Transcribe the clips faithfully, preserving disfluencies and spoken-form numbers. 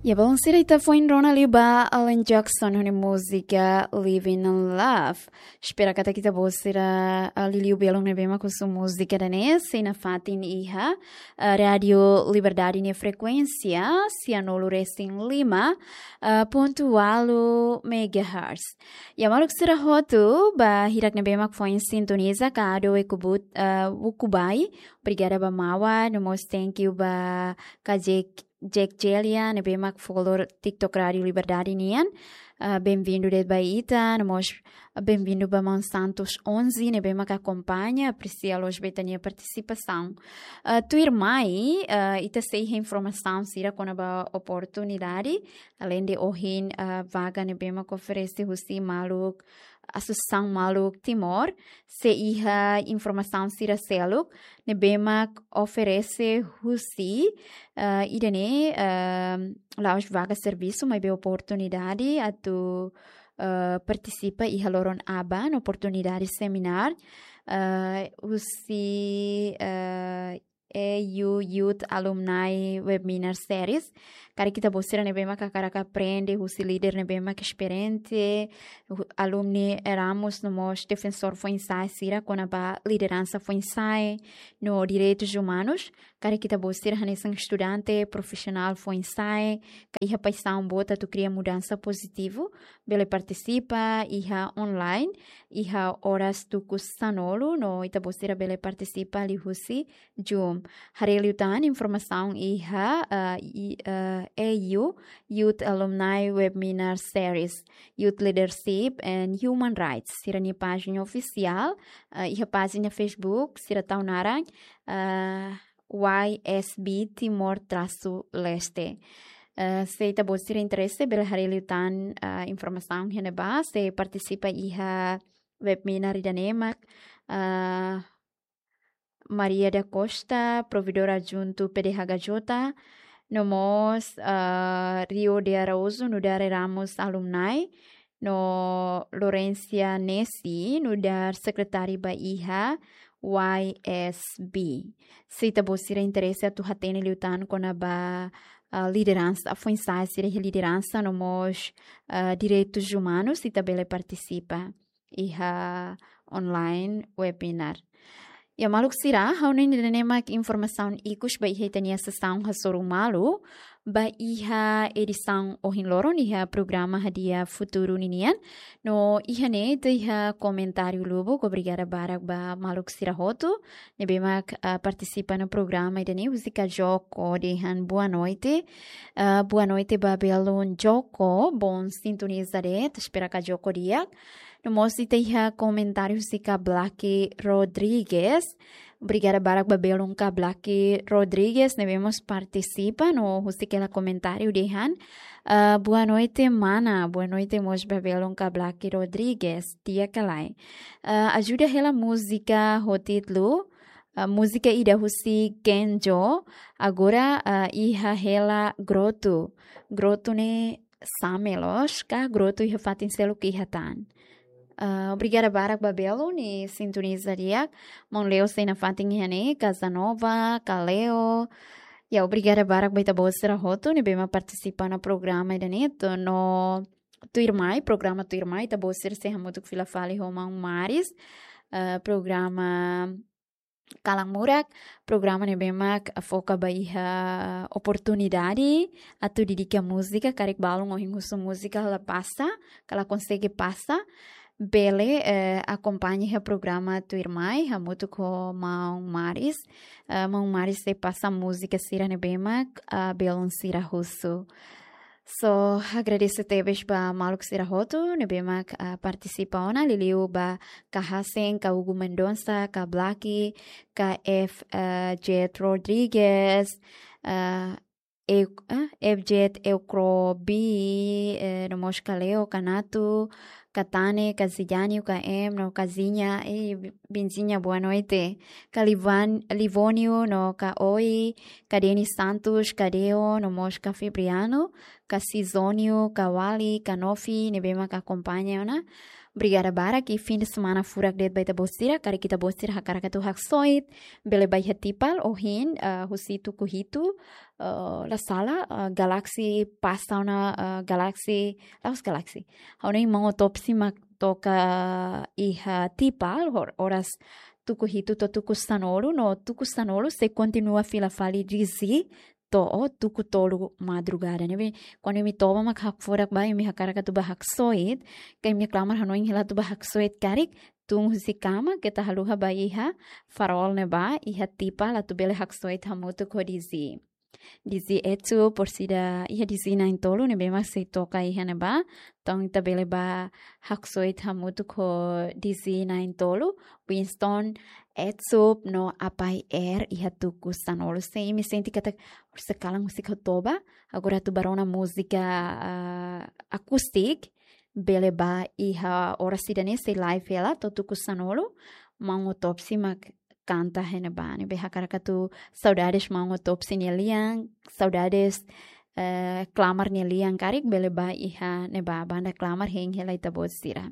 Ya, balun sira, ita foin rona liu ba Alan Jackson ho nia múzika Living in Love. Espera katak ita-boot sira, ah, liuliu belun ne'ebé mak husu múzika ida-ne'e, sei nafatin iha, ah, Rádio Liberdade nia frekuénsia, sianulu resin lima, ah, pontu ualu megahertz. Ya, maluk sira hotu, ba hirak ne'ebé mak foin sintoniza, ka ado ukun-boot, ah, ukun-bai, obrigada ba maun, no mós thank you ba Kajek Jack Celia, ne'ebé mak follow TikTok Rádio Liberdade nian. Ah, bem-vindo de'it ba ita, no mós bem-vindo ba maun Santos onze, ne'ebé mak akompaña, apresia loos ba ita-nia partisipasaun. Ah, tuirmai, ah, ita sei iha informasaun sira kona-ba oportunidade, alende ohin, ah, vaga ne'ebé mak oferese husi maluk, Asosiasaun Maluk Timor, sei iha informasaun sira seluk ne'ebé mak oferese husi, eh, ida-ne'e, eh, la'ós vaga servisu, maibé oportunidade atu, eh, partisipa iha loron aban, oportunidade seminar, eh, husi, eh, E U Youth Alumni Webinar Series. Karik ita-boot sira ne'ebé mak hakarak aprende husi líder ne'ebé mak esperiente, hu-, alumni Erasmus no mós defensór foin-sa'e sira kona-ba lideransa foin-sa'e no direitus umanus. Karik ita-boot sira hanesan estudante, profisionál foin-sa'e, ka iha paixaun boot atu kria mudansa pozitivu, bele partisipa iha online, iha oras tuku sanulu, no ita-boot sira bele partisipa liuhusi Zoom. Haree liután informasaun iha, eh, i-, eh, E U Youth Alumni Webinar Series, Youth Leadership and Human Rights. Sira-nia pájina ofisiál, eh, iha pájina Facebook, sira tau naran, eh, Y S B Timor trasu Leste. Eh, se ita-boot sira interese, bele haree liután, eh, informasaun iha ne'ebá, sei partisipa iha webinar ida-ne'e mak, eh, Maria da Costa, provedora adjuntu P D H K J, no mós, ah, Rio de Araújo, nu'udar Erasmus alumni, no Lorencia Nesi, nu'udar sekretária ba iha Y S B. Se ita-boot sira interese atu hatene liután kona-ba, ah, lideransa, foin-sa'e sira iha lideransa, no mós, ah, direitus umanus, ita bele partisipa iha online webinar. Ya, maluk sira, ha'u hanoin ida-ne'e mak informasaun ikus ba iha ita-nia sesaun hasoru malu ba iha edisaun ohin loron iha programa Hadi'a Futuru ninian. No iha ne'e ita iha komentáriu lubuk, obrigada barak ba maluk sira hotu ne'ebé mak, ah, partisipa iha programa ida-ne'e, husi Kajoko dehan boa noite. Ah, boa noite ba belun Joko, bom sintoniza de'it, espera Kajoko di'ak. No mós ita iha komentáriu husi Ka Blaki Rodrigues. Obrigada barak ba belun Ka Blaki Rodrigues ne'ebé mós partisipa no husik hela komentáriu dehan, ah, boa noite, mana. Boa noite mós ba belun Ka Blaki Rodrigues. Di'ak ka lae. Ah, ajuda hela múzika ho títulu, ah, múzika ida husi Kenjo, agora, ah, iha hela Grotu. Grotu ne'e same loos ka Grotu iha fatin seluk iha tan? Ah, obrigada barak ba belun, nia sintoniza di'ak. Maun Leo sei nafatin iha ne'e, Casanova, Ka Leo. Ya, obrigada barak ba ita-boot sira hotu ne'ebé mak partisipa iha programa ida-ne'e, no tuirmai, programa tuirmai, ita-boot sira sei hamutuk fila fali ho maun Maris. Ah, programa Kalan Murak, programa ne'ebé mak foka ba iha oportunidade atu dedika múzika, karik balun ohin husu múzika la pasa, ka la konsege pasa, bele, eh, akompaña iha programa tuirmai, hamutuk ho maun Maris. Eh, maun Maris sei pasa múzika sira ne'ebé mak, ah, belun sira husu. So, agradese tebes ba maluk sira hotu ne'ebé mak, ah, partisipa ona, liuliu ba Ka Hasen, Ka Hugo Mendonça, Ka Blaki, Ka F, ah, Jet Rodrigues, ah, Eu-, ah, F Jet Eukrobi, eh, no mós Ka Leo, Ka Natu, Ka Tane, Ka Zidane, Ka Em, no Ka Zinha, eh, Benzinha, boa noite. Ka Livan-, Livónio, no Ka Oi, Ka Denis Santos, Ka Deo, no mós Ka Febriano, Ka Sizónio, Ka Wali, Ka Nofi, ne'ebé mak akompaña ona. Obrigada barak, i fim de semana furak de'it ba ita-boot sira. Karik ita-boot sira hakarak atu haksoit, bele ba iha Tipal ohin, ah, husi tuku hitu, ah, la sala, ah, Galaxy pasa ona, ah, Galaxy, la'ós Galaxy. Ha'u-nia maun Otopsi mak toka iha Tipal, hor-, oras tuku hitu to'o tuku sanulu, no tuku sanulu sei kontinua fila fali D Z to'o tuku tolu madrugada. Ne'ebé, kuandu imi toba mak hakfodak ba, imi hakarak atu ba haksoit, ka imi klamar hanoin hela atu ba haksoit karik, tun husi kama, keta haluha ba iha Farol ne'ebá, iha Tipal atu bele haksoit hamutuk ho D Z. D Z Etsu, orsida iha D Z na'in-tolu, ne'ebé mak sei toka iha ne'ebá, entaun ita bele ba haksoit hamutuk ho D Z na'in-tolu, Winston, Etsup no Apai Air iha tuku sanulu. Se imi sente katak orsida kalan múzika toba, agora atu ba rona múzika, ah, akustik, bele ba iha oras ida-ne'e sei live hela to'o tuku sanulu, maun Otopsi mak kanta iha ne'ebá. Ne'ebé hakarak atu saudades maun Otopsi nia lian, saudades, eh, klamar nia lian karik bele ba iha ne'ebá, banda klamar hein hela ita-boot sira.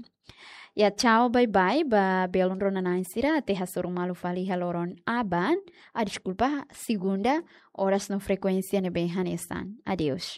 Ya, tchau, bye bye ba belun rona-na'in sira, até hasoru malu fali iha loron aban. Ah, deskulpa, segunda, oras no frekuénsia ne'ebé hanesan. Adeus.